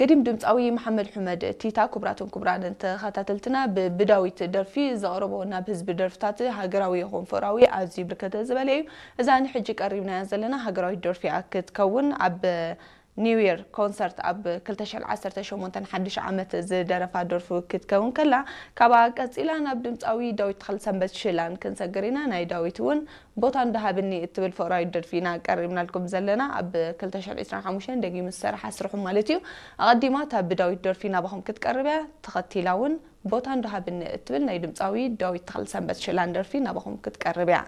ገዲም ድምፃዊ መሓመድ ሑመድ ቲታ። ክቡራትን ክቡራንን ተኸታተልትና፣ ብ- ብዳዊት ደርፊ ዘቕረቦ ናብ ህዝቢ ደርፍታት ሃገራዊ ይኹን ፍቕራዊ ኣዝዩ ብርከተ ዝበለ እዩ። እዛ ንሕጂ ቀሪብናያ ዘለና ሃገራዊት ደርፊ እያ ክትከውን። ኣብ ኒው ይር ኮንሰርት ኣብ ክልተ ሽሕን ዓሰርተ ሸሞንተን ሓድሽ ዓመት ዝደረፋ ደርፊ ክትከውን ከላ፣ ካብኣ ቀፂላ ናብ ድምፃዊ ዳዊት ተኽለሰንበት ሽላን ክንሰግር ኢና። ናይ ዳዊት እውን ቦታ እንዳሃብኒ እትብል ፍቕራዊት ደርፊ ኢና ቀሪብናልኩም ዘለና። ኣብ ክልተ ሽሕን ዕስራን ሓሙሽተን ደጊሙ ዝሰርሓ ስርሑ ማለት እዩ። ኣቐዲማ እታ ብዳዊት ደርፊ ናባኹም ክትቀርብ እያ። ተኸቲላ እውን ቦታ እንዳሃብኒ እትብል ናይ ድምፃዊ ዳዊት ተኽለሰንበት ሽላን ደርፊ ናባኹም ክትቀርብ እያ።